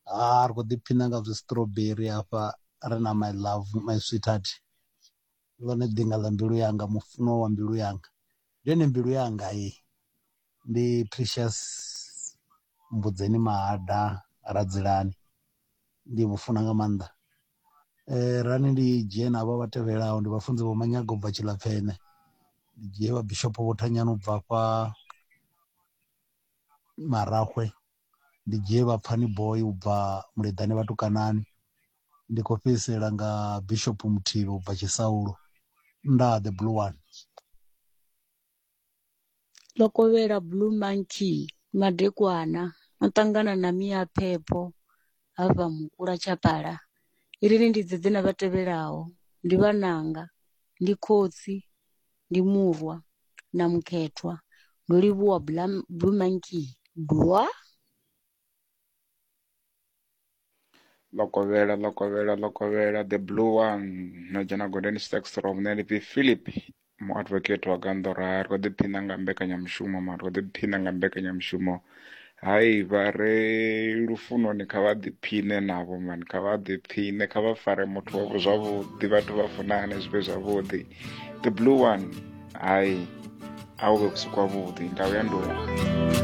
Ha ri khou ḓiphina nga zwi strawberry hafha ri na my love my sweetheart, ḽone ḓinga ḽa mbilu yanga, mufunwa wa mbilu yanga. Ndi yone mbilu yanga heyi, ndi Precious Mbudzeni Mahada Radzilani, ndi vhufuna nga maanḓa. Rani ndi dzhie na havha vha tevhelaho, ndi vhafunzi vho Manyaga ubva Tshilapfene, ndi dzhie vha Bishop Vho Thanyani ubva hafha Maraxwe, ndi dzhie vha Pfani Boy ubva Muleḓane Vhatukanani, ndi khou fhedzisela nga Bishop Muthivhi ubva Tshisaulo. Ndaa the blue one. Ḽo kovhela Blue Monkey madekwana no ṱangana na Mia Phepho hafha Mukula Tshapala. Irini ndi dzedze na vha tevhelaho, ndi vhananga, ndi khotsi, ndi murwa na mukhethwa. Ndo livhuwa Blue Monkey. Dwa. Ḽo kovhela ḽo kovhela ḽo kovhela the blue one no dzhena gondeni sextrom nṋe ndi pfi Philip muadvocate wa Gandora ri khou ḓiphina nga mbekanyamushumo mara ri khou ḓiphina nga mbekanyamushumo hai vha re lufunoni kha vha ḓiphine navho mani kha vha ḓiphine kha vha fare muthu wavho zwavhuḓi vhathu vha funane zwi vhe zwavhuḓi the blue one hai a hu vhe vhusiku havhuḓi ndau ya nduwa.